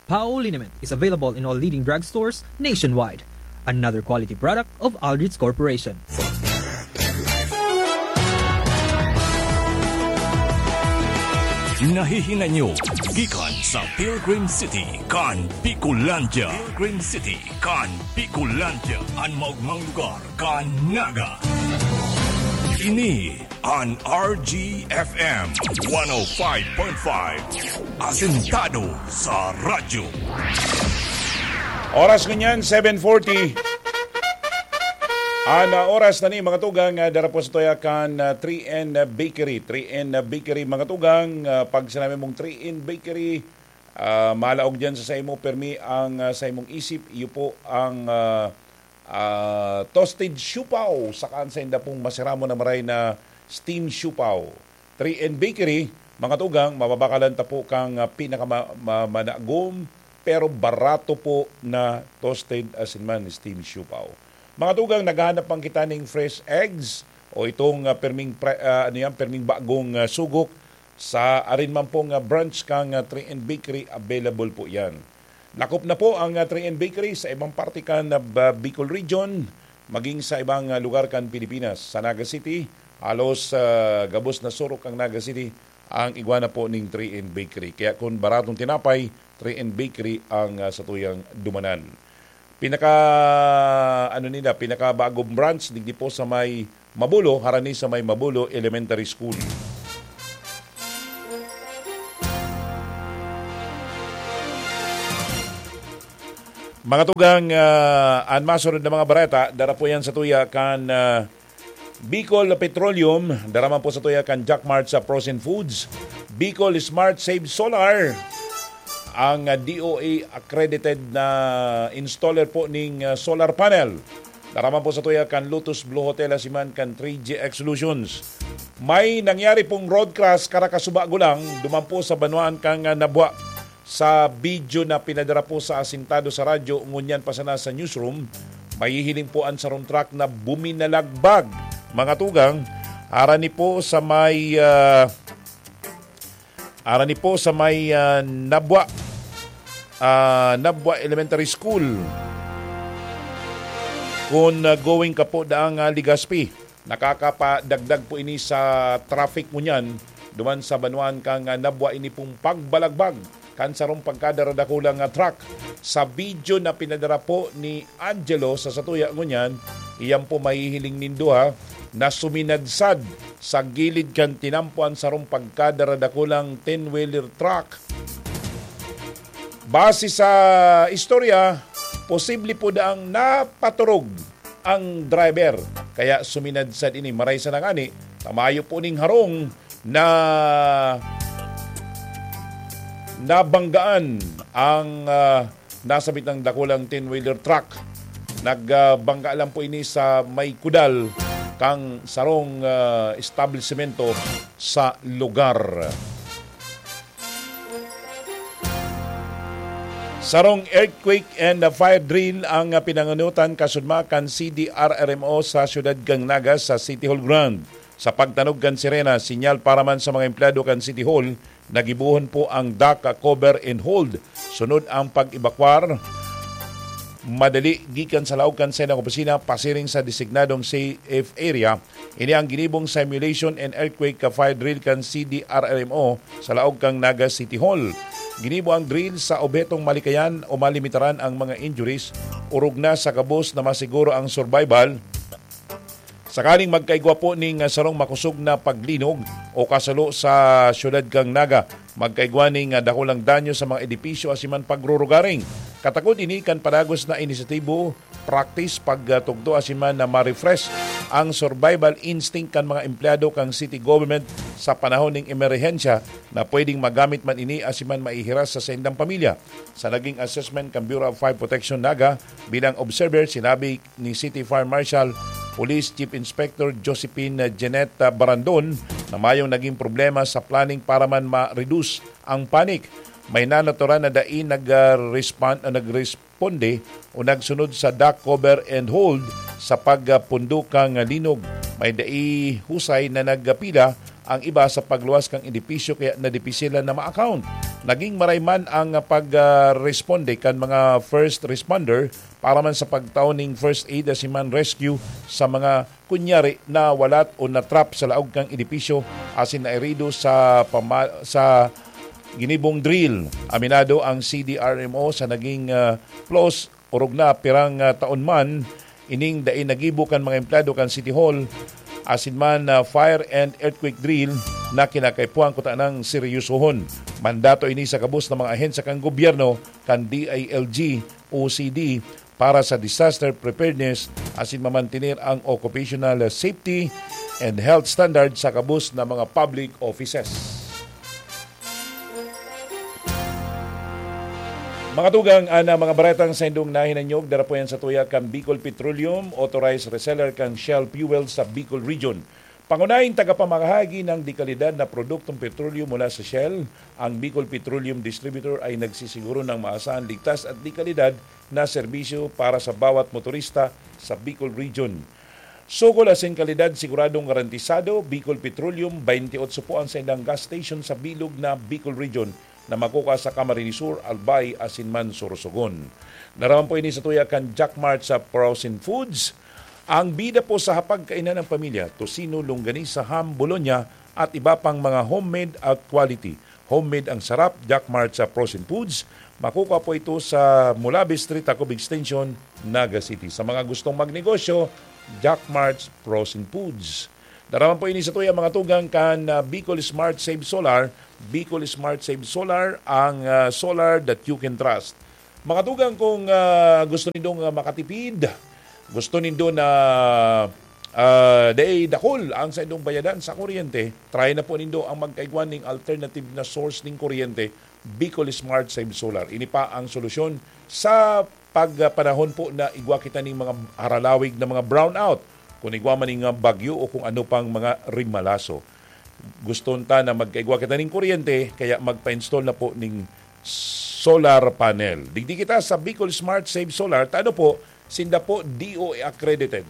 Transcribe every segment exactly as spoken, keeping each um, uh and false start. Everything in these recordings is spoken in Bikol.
Pao liniment is available in all leading drugstores nationwide. Another quality product of Aldrich Corporation. Nahihinay nyo gikan sa Pilgrim City kan Bicolandia. Pilgrim City kan Bicolandia, an maogmang lugar kan Naga. Ini an R G F M one oh five point five, asentado sa radyo. Oras ngunyan, seven forty. An, ah, oras na ni, mga tugang, ah, dara po sa tuya kan, ah, three N Bakery. Three N Bakery, mga tugang, ah, pag sinabi mong three N Bakery, ah, malaog dyan sa saimo, permi ang, ah, saimong isip, iyo po ang, ah, ah, toasted siopao, saka an sainda pong masiramon na maray na steam siopao. Three N Bakery, mga tugang, mababakalan ta po kan, ah, pinaka ma-, ma-, managom, pero barato po na toasted asin man steam siopao. Mga tugang, naghahanap man kita ning fresh eggs o itong, ah, perming pre-, ah, ano yan, perming bagong, ah, sugok sa arin man pong, ah, branch kan, ah, three N Bakery, available po yan. Lakop na po ang, ah, three N Bakery sa ibang parte kan, ah, Ba-, Bicol Region, maging sa ibang, ah, lugar kan Pilipinas. Sa Naga City, halos, ah, gabos na surok ang Naga City, ang igwa na po ning three N Bakery. Kaya kung baratong tinapay, three N Bakery ang, ah, satuyang dumanan. Pinaka, ano nila, pinakabagong branch, digdi po sa may Mabulo, harani sa may Mabulo Elementary School. Mga tugang, ah, an masunod na mga bareta, dara po yan sa tuya kan, ah, Bicol Petroleum, dara man po sa tuya kan Jack Mart sa Frozen Foods, Bicol Smart Save Solar, ang, ah, D O A accredited na installer po ning, ah, solar panel. Dara man po sa tuya kan Lotus Blue Hotel asin man kan three G X Solutions. May nangyari pong road crash karakasuba gulang, duman po sa banwaan kan, ah, Nabua. Sa video na pinadara po sa asintado sa radyo, ngunyan pa sana sa newsroom, mahihiling po an sarong truck na buminalagbag. Mga tugang, harani po sa may, ah, harani po sa may, ah, Nabua, ah, Nabua Elementary School. Kung, ah, going ka po daang, ah, Legazpi, nakakapadagdag po ini sa traffic ngunyan, duman sa banwaan kan, ah, Nabua. Ini pong pagbalagbag kan sarong pagkadaradakulang, ah, truck. Sa video na pinadara po ni Angelo sa satuya ngunyan, iyan po mahihiling nindo, ha, na suminadsad sa gilid kan tinampo an sarong pagkadaradakulang ten-wheeler truck. Base sa istorya, posible po daang napaturog ang driver, kaya suminadsad ini. Maray sana ngani, ta mayo po ning harong na nabanggaan ang, ah, nasabit na dakulang ten-wheeler truck. Nagbangga lang po ini sa may kudal kan sarong, ah, establisemento sa lugar. Sarong earthquake and fire drill ang pinanganutan kasudma kan C D R R M O sa siyudad kan Naga sa City Hall ground. Sa pagtanog kan sirena, sinyal para man sa mga empleyado kan City Hall, nagibohon po ang dock cover and hold. Sunod ang pag-ebakwar madali gikan sa laog kan saindang opisina pasiring sa designadong safe area. Ini ang ginibong simulation and earthquake fire drill kan C D R R M O sa laog kan Naga City Hall. Ginibo ang drill sa obhetong malikayan o malimitaran ang mga injuries, orog na sa gabos na masiguro ang survival. Sakaling magkaigwa po ning sarong makosog na paglinog o kasulo sa siyudad kan Naga, magkaigwa ning dakulang danyo sa mga edipisyo asin man pagrurugaring. Katakod ini kan padagos na inisyatibo, practice, pagtugto asin man na ma-refresh ang survival instinct kan mga empleyado kan city government sa panahon ning emerhensya na pwedeng magamit man ini asin man maihiras sa saindang pamilya. Sa naging assessment kan Bureau of Fire Protection Naga bilang observer, sinabi ni City Fire Marshal Police Chief Inspector Josephine Jeanette Barandon na mayong naging problema sa planning para man ma-reduce ang panic. May natural na dai nag-respond o nagresponde o nagsunod sa dock cover and hold sa pagpundo kan linog. May dai husay na nagpila ang iba sa pagluwas kan edipisyo kaya nadipisilan na ma-account. Naging maray man ang pag-responde kan mga first responder para man sa pagtao ning first aid asin man rescue sa mga kunyari nawalat o na-trap sa laog kan edipisyo asin nairido sa pama-, sa ginibong drill. Aminado ang C D R M O sa naging, ah, flaws, orog na pirang, ah, taon man ining dai nagibo kan mga empleyado kan City Hall asin man, ah, fire and earthquake drill na kinakaipuhan kuta nang seryosohon. Mandato ini sa gabos na mga ahensya kan gobyerno, kan D I L G, O C D, para sa disaster preparedness asin mamantener ang occupational safety and health standard sa gabos na mga public offices. Mga tugang, ana mga baretang saindong nahinanyog, dara po yan sa tuya kan Bicol Petroleum, authorized reseller kan Shell Fuel sa Bicol Region. Pangunahing tagapamahagi ng dekalidad na produktong petrolyo mula sa Shell, ang Bicol Petroleum Distributor ay nagsisiguro ng maasahan, ligtas at dekalidad na serbisyo para sa bawat motorista sa Bicol Region. Sukol asin kalidad siguradong garantisado, Bicol Petroleum, twenty-eight po ang saindang gas station sa bilog na Bicol Region na makukuha sa Camarines Sur, Albay asin man Sorsogon. Dara man po ini sa tuya kan Jack Mart sa Frozen Foods. Ang bida po sa hapagkainan ng pamilya, tocino, longganisa, ham, bologna, at iba pang mga homemade at quality. Homemade ang sarap, Jack Mart sa Frozen Foods. Makukuha po ito sa Mulabi Street, Tacob Extension, Naga City. Sa mga gustong magnegosyo, Jack Mart's Frozen Foods. Dara man po ini sa tuya, mga tugang, kan, ah, Bicol Smart Save Solar. Bicol Smart Save Solar, ang, ah, solar that you can trust. Mga tugang, kung, ah, gusto nindong, ah, makatipid, gusto nindo na, ah, dai dakul ang saindong bayadan sa kuryente, try na po nindo ang magkaigwa ning alternative na source ning kuryente, Bicol Smart Save Solar. Ini pa ang solusyon sa pagpanahon po na igwa kita ning mga haralawig na mga brownout, kung igwa man ning, ah, bagyo o kung ano pang mga rimalaso. Gusto ta na magkaigwa kita ning kuryente, kaya magpa-install na po ning solar panel. Digdi kita sa Bicol Smart Save Solar. Ta ano po, sinda po D O A accredited.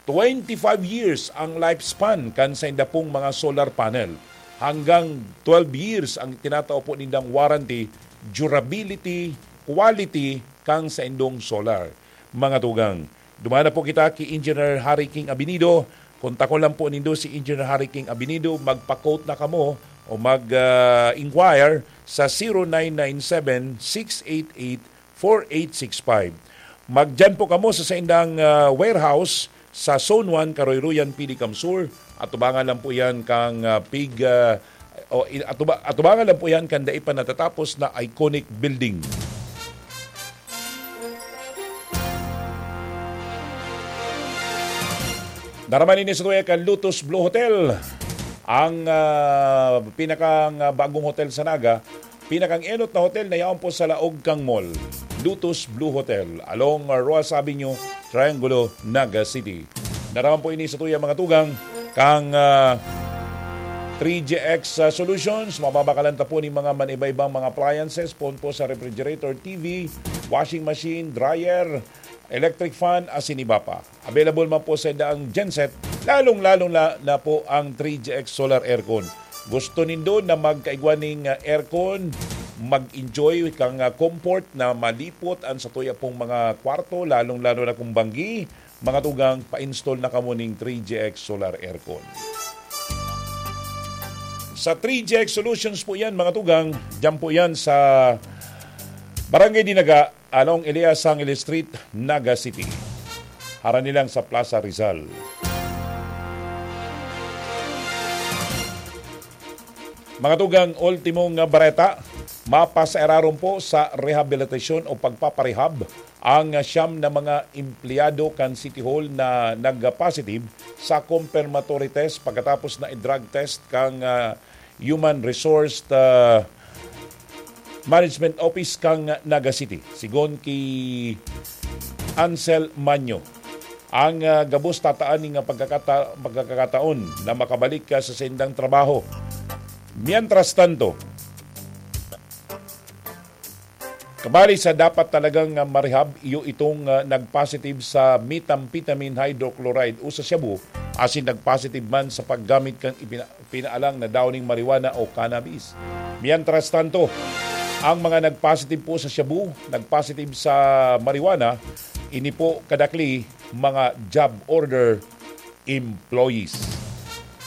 Twenty-five years ang lifespan kan sainda pong mga solar panel. Hanggang twelve years ang tinatao po nindang warranty, durability, quality kan saindong solar. Mga tugang, duman na po kita ki Engineer Harry King Abinido. Kontakon lang po nindo si Engineer Harry King Abinido. Magpa-quote na kamo o mag, ah, inquire sa zero nine nine seven, six eight eight, four eight six five. Magdiyan po kamo sa saindang, ah, warehouse sa Zone one, Karoyroyan, Pili, Kamsur. Atubangan lang po yan kang, ah, pig, ah, o, i-, atuba-, atubangan lang po yan kan dai pa natatapos na iconic building. Dara man ini sa tuya kan Lotus Blue Hotel, ang, ah, pinakang, ah, bagong hotel sa Naga, pinakang enot na hotel na yaon po sa laog kang mall. Lotus Blue Hotel, along, ah, Roxas Avenue, Triangulo, Naga City. Dara man po ini sa tuya, mga tugang, kang, ah, three G X, ah, Solutions. Mababakalan ta po ning mga maniba-ibang mga appliances, poon po sa refrigerator, T V, washing machine, dryer, electric fan, asin iba pa. Available man po sa inda ang genset, lalong-lalo na, na po ang three G X solar aircon. Gusto nindo na magkaigwa ning, ah, aircon, mag-enjoy kang, ah, comfort na malipot an satuya pong mga kwarto, lalong-lalo na kung banggi, mga tugang, pa-install na kamo ning three G X solar aircon. Sa three G X Solutions po yan, mga tugang, dyan po yan sa Barangay Dinaga, along Elias Sangil Street, Naga City. Harani lang sa Plaza Rizal. Mga tugang, ultimong bareta, mapasaeraron po sa rehabilitasyon o pagpaparehab ang siyam na mga empleyado kan City Hall na nagpa-positive sa confirmatory test pagkatapos na i-drug test kang, ah, Human Resource, ah, Management Office kang Naga City, sigon ki Ansel Manyo. Ang, ah, gabos tataan ning pagkakata-, pagkakataon na makabalik ka sa saindang trabaho. Mientras tanto, kabali sa dapat talagang, ah, marehab, iyo itong, ah, nag-positive sa methamphetamine hydrochloride o sa shabu, asin nagpositive man sa paggamit kan ipina-, pinaalang na daw ning marijuana o cannabis. Mientras tanto, ang mga nagpositive po sa shabu, nagpositive sa marijuana, ini po kadakli mga job order employees.